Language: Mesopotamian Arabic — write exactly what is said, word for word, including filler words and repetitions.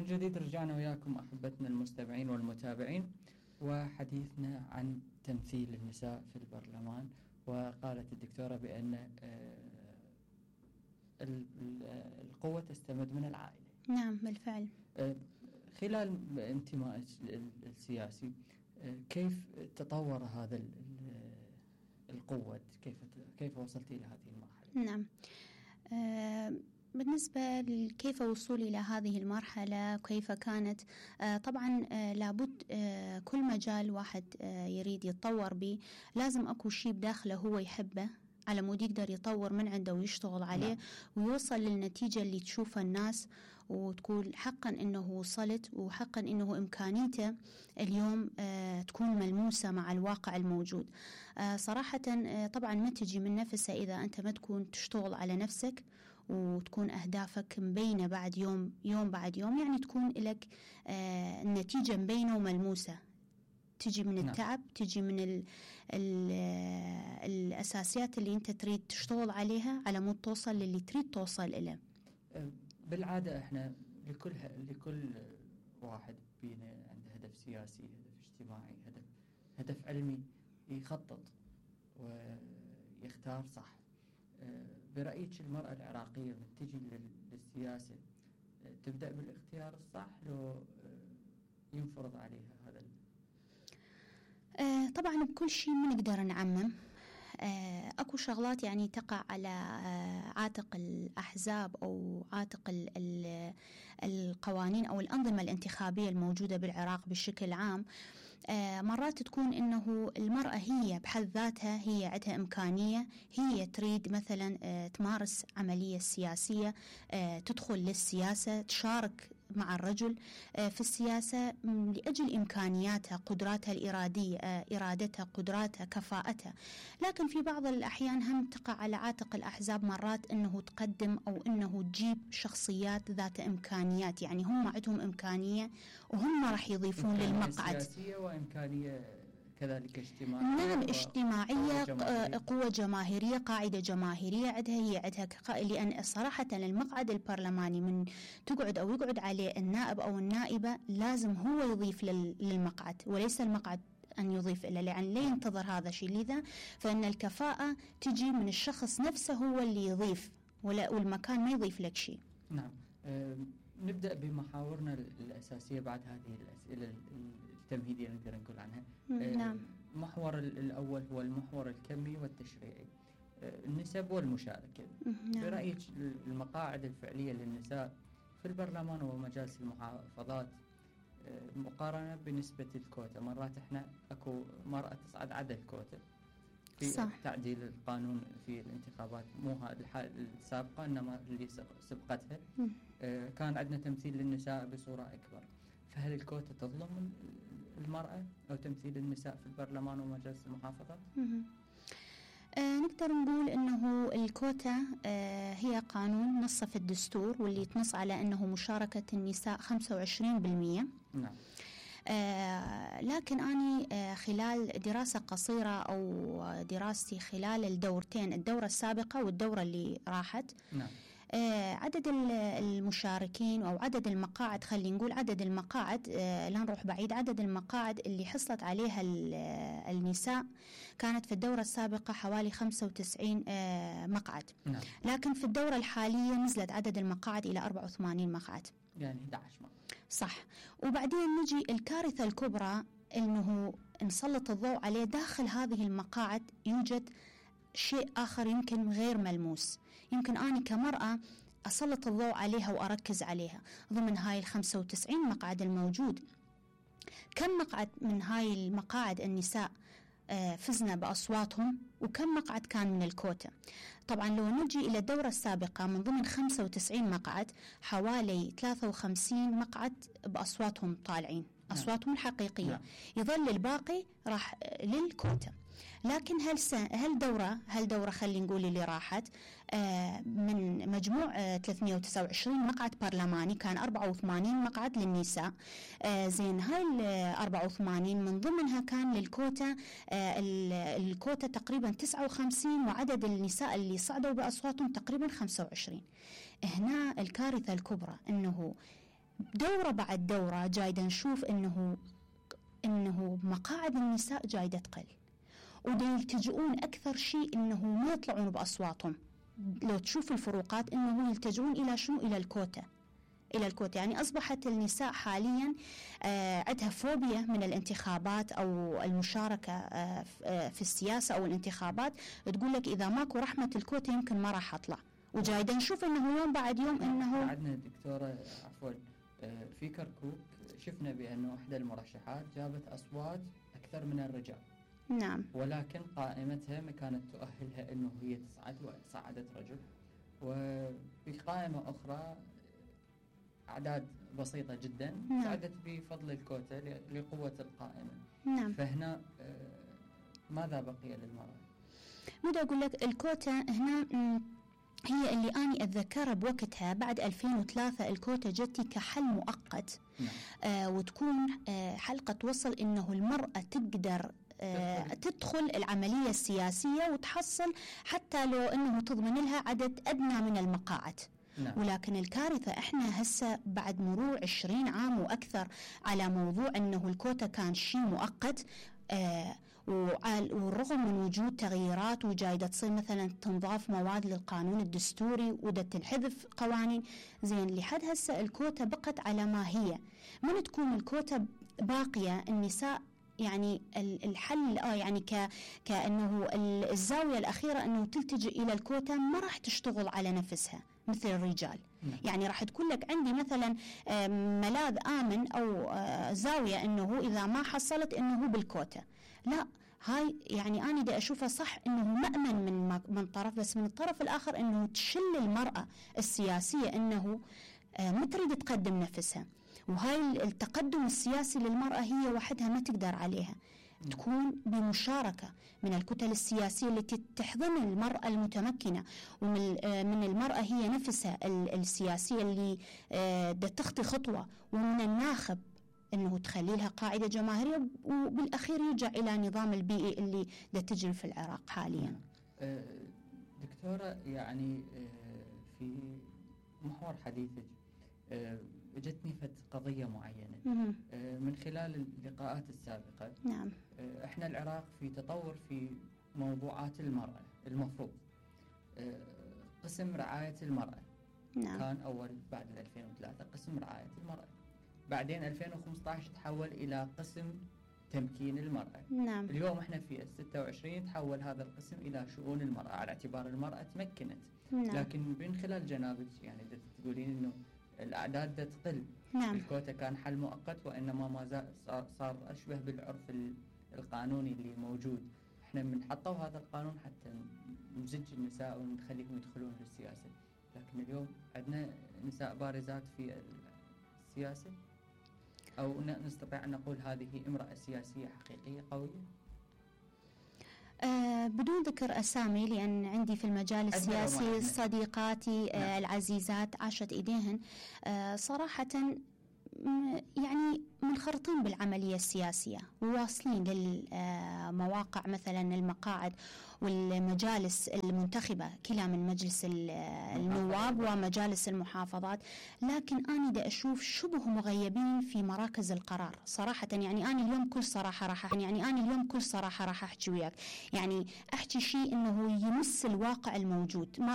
جديد رجعنا وياكم أحبتنا المستمعين والمتابعين، وحديثنا عن تمثيل النساء في البرلمان. وقالت الدكتورة بأن القوة تستمد من العائلة. نعم بالفعل. خلال انتمائك السياسي كيف تطور هذا القوة؟ كيف كيف وصلت إلى هذه المرحلة؟ نعم، أه بالنسبة لكيف وصولي إلى هذه المرحلة كيف كانت، آه طبعا آه لابد آه كل مجال واحد آه يريد يتطور به لازم أكو شيء بداخله هو يحبه على مود يقدر يطور من عنده ويشتغل عليه. نعم. ويوصل للنتيجة اللي تشوفها الناس وتقول حقا إنه وصلت، وحقا إنه إمكانيته اليوم آه تكون ملموسة مع الواقع الموجود. آه صراحة آه طبعا ما تجي من نفسها إذا أنت ما تكون تشتغل على نفسك وتكون أهدافك مبينة بعد يوم يوم بعد يوم، يعني تكون لك آه النتيجة مبينة وملموسة، تجي من التعب. نعم. تجي من ال ال الأساسيات اللي أنت تريد تشتغل عليها على مود توصل للي تريد توصل إليه. بالعادة إحنا لكل لكل واحد بينا عنده هدف سياسي، هدف اجتماعي، هدف هدف علمي، يخطط ويختار صح. برأيك المرأة العراقية من تجي للسياسة تبدأ بالاختيار الصح لو ينفرض عليها هذا؟ آه طبعا بكل شيء ما نقدر نعمم. آه اكو شغلات يعني تقع على آه عاتق الأحزاب أو عاتق ال ال القوانين أو الأنظمة الانتخابية الموجودة بالعراق بشكل عام. آه مرات تكون إنه المرأة هي بحد ذاتها هي عندها إمكانية، هي تريد مثلا آه تمارس عملية سياسية، آه تدخل للسياسة، تشارك مع الرجل آه في السياسة لأجل إمكانياتها، قدراتها الإرادية، آه إرادتها، قدراتها، كفاءتها. لكن في بعض الأحيان هم تقع على عاتق الأحزاب مرات إنه تقدم أو إنه تجيب شخصيات ذات إمكانيات، يعني هم عندهم إمكانية وهم راح يضيفون للمقعد. سياسية وإمكانية كذلك اجتماعية. نعم، اجتماعية، قوة, قوة جماهيرية، قاعدة جماهيرية عندها، هي عندها. لأن صراحة المقعد البرلماني من تقعد أو يقعد عليه النائب أو النائبة لازم هو يضيف للمقعد وليس المقعد أن يضيف إليه، لأن لا ينتظر هذا الشيء. لذا فإن الكفاءة تجي من الشخص نفسه هو اللي يضيف، ولا والمكان ما يضيف لك شيء. نعم. أه نبدأ بمحاورنا الأساسية بعد هذه الأسئلة التمهيدية نقدر نقول عنها. نعم. المحور الأول هو المحور الكمي والتشريعي، النسب والمشاركة. نعم. برأيك المقاعد الفعلية للنساء في البرلمان ومجالس المحافظات مقارنة بنسبة الكوتا، مرات احنا اكو مرأة تصعد عدد الكوتا في صح. تعديل القانون في الانتخابات، مو هذه الحالة السابقة انما اللي سبقتها آه كان عندنا تمثيل للنساء بصورة اكبر. فهل الكوتا تظلم المرأة او تمثيل النساء في البرلمان ومجالس المحافظات؟ آه نقدر نقول انه الكوتا آه هي قانون نص في الدستور واللي تنص على انه مشاركة النساء خمسة وعشرين بالمئة. نعم. آه لكن أنا آه خلال دراسة قصيرة أو دراستي خلال الدورتين، الدورة السابقة والدورة اللي راحت. نعم. آه عدد المشاركين أو عدد المقاعد، خلينا نقول عدد المقاعد، آه لا نروح بعيد، عدد المقاعد اللي حصلت عليها النساء كانت في الدورة السابقة حوالي خمسة وتسعين آه مقعد. نعم. لكن في الدورة الحالية نزلت عدد المقاعد إلى أربعة وثمانين مقعد، يعني أحد عشر مقعد. صح. وبعدين نجي الكارثة الكبرى إنه نسلط الضوء عليه، داخل هذه المقاعد يوجد شيء آخر يمكن غير ملموس، يمكن أنا كمرأة أسلط الضوء عليها وأركز عليها. ضمن هاي الخمسة وتسعين مقعد الموجود، كم مقعد من هاي المقاعد النساء فزنا بأصواتهم وكم مقعد كان من الكوتا؟ طبعا لو نجي إلى الدورة السابقة من ضمن خمسة وتسعين مقعد حوالي ثلاثة وخمسين مقعد بأصواتهم طالعين، أصواتهم الحقيقية. نعم. يظل الباقي راح للكوتا. لكن هل هل دورة هل دورة خلينا نقول اللي راحت آه من مجموع آه ثلاثمئة وتسعة وعشرين مقعد برلماني كان أربعة وثمانين مقعد للنساء. آه زين هاي ال أربعة وثمانين من ضمنها كان للكوتا، آه الكوتا تقريبا تسعة وخمسين، وعدد النساء اللي صعدوا بأصواتهم تقريبا خمسة وعشرين. هنا الكارثة الكبرى انه دورة بعد دورة جايدة نشوف إنه إنه مقاعد النساء جايدة تقل، ودا يلتجؤون أكثر شيء إنه ما يطلعون بأصواتهم. لو تشوف الفروقات إنه يلتجؤون إلى شنو؟ إلى الكوتا، إلى الكوتا. يعني أصبحت النساء حاليا آه عندها فوبيا من الانتخابات أو المشاركة آه في السياسة أو الانتخابات. تقول لك إذا ماكو رحمة الكوتا يمكن ما راح أطلع. وجايدا نشوف إنه يوم بعد يوم إنه عندنا دكتورة عفوا آه في كركوك شفنا بأنه إحدى المرشحات جابت أصوات أكثر من الرجال. نعم. ولكن قائمتها ما كانت تؤهلها إنه هي تصعد، وصعدت رجل. وفي قائمة أخرى أعداد بسيطة جدا نعم. صعدت بفضل الكوتا لقوة القائمة. نعم. فهنا ماذا بقي للمرأة؟ ماذا أقول لك؟ الكوتا هنا هي اللي أني أتذكرها بوقتها بعد ألفين وثلاثة. الكوتا جتي كحل مؤقت. نعم. آه وتكون آه حلقة توصل إنه المرأة تقدر آه تدخل العملية السياسية وتحصل حتى لو إنه تضمن لها عدد أدنى من المقاعد. نعم. ولكن الكارثة إحنا هسه بعد مرور عشرين عام وأكثر على موضوع أنه الكوتا كان شيء مؤقت، آه والرغم من وجود تغييرات وجايدة تصير مثلا تنضاف مواد للقانون الدستوري وده تنحذف قوانين زين، لحد هسه الكوتا بقت على ما هي. من تكون الكوتا باقية النساء يعني الحل آه يعني ك كأنه الزاوية الأخيرة أنه تلتجئ إلى الكوتا، ما راح تشتغل على نفسها مثل الرجال. نعم. يعني راح تكون لك عندي مثلا ملاذ آمن أو زاوية أنه إذا ما حصلت أنه بالكوتا. لا، هاي يعني أنا دا أشوفها صح أنه مأمن من من طرف، بس من الطرف الآخر أنه تشل المرأة السياسية أنه ما تريد تقدم نفسها. وهاي التقدم السياسي للمرأة هي وحدها ما تقدر عليها. م. تكون بمشاركة من الكتل السياسية التي تحضن المرأة المتمكنة، ومن من المرأة هي نفسها السياسية اللي دا تخطي خطوة، ومن الناخب أنه تخلي لها قاعدة جماهيرية، وبالأخير يرجع إلى نظام البيئي اللي دا تجري في العراق حاليا. دكتورة، يعني في محور حديثك جتني فت قضية معينة مم. من خلال اللقاءات السابقة. نعم. احنا العراق في تطور في موضوعات المرأة. المفروض قسم رعاية المرأة. نعم. كان أول بعد ألفين وثلاثة قسم رعاية المرأة، بعدين ألفين وخمسة عشر تحول إلى قسم تمكين المرأة. نعم. اليوم احنا في ستة وعشرين تحول هذا القسم إلى شؤون المرأة على اعتبار المرأة تمكنت. نعم. لكن من خلال جنابك يعني تقولين إنه الأعداد دا تقل. نعم. الكوتا كان حل مؤقت، وإنما ما زال صار, صار أشبه بالعرف القانوني اللي موجود. إحنا من حطوا هذا القانون حتى نزج النساء ونخليهم يدخلون للسياسة، لكن اليوم عندنا نساء بارزات في السياسة، أو نستطيع أن نقول هذه امرأة سياسية حقيقية قوية؟ أه بدون ذكر أسامي، لأن عندي في المجال السياسي صديقاتي أه العزيزات عاشت إيديهن أه صراحة يعني منخرطين بالعملية السياسية، وواصلين للمواقع مثلا المقاعد والمجالس المنتخبة كلا من مجلس النواب ومجالس المحافظات، لكن أنا دا أشوف شبه مغيبين في مراكز القرار صراحة. يعني أنا اليوم كل صراحة راح يعني أنا اليوم كل صراحة راح أحكي وياك، يعني أحكي شيء إنه يمس الواقع الموجود. ما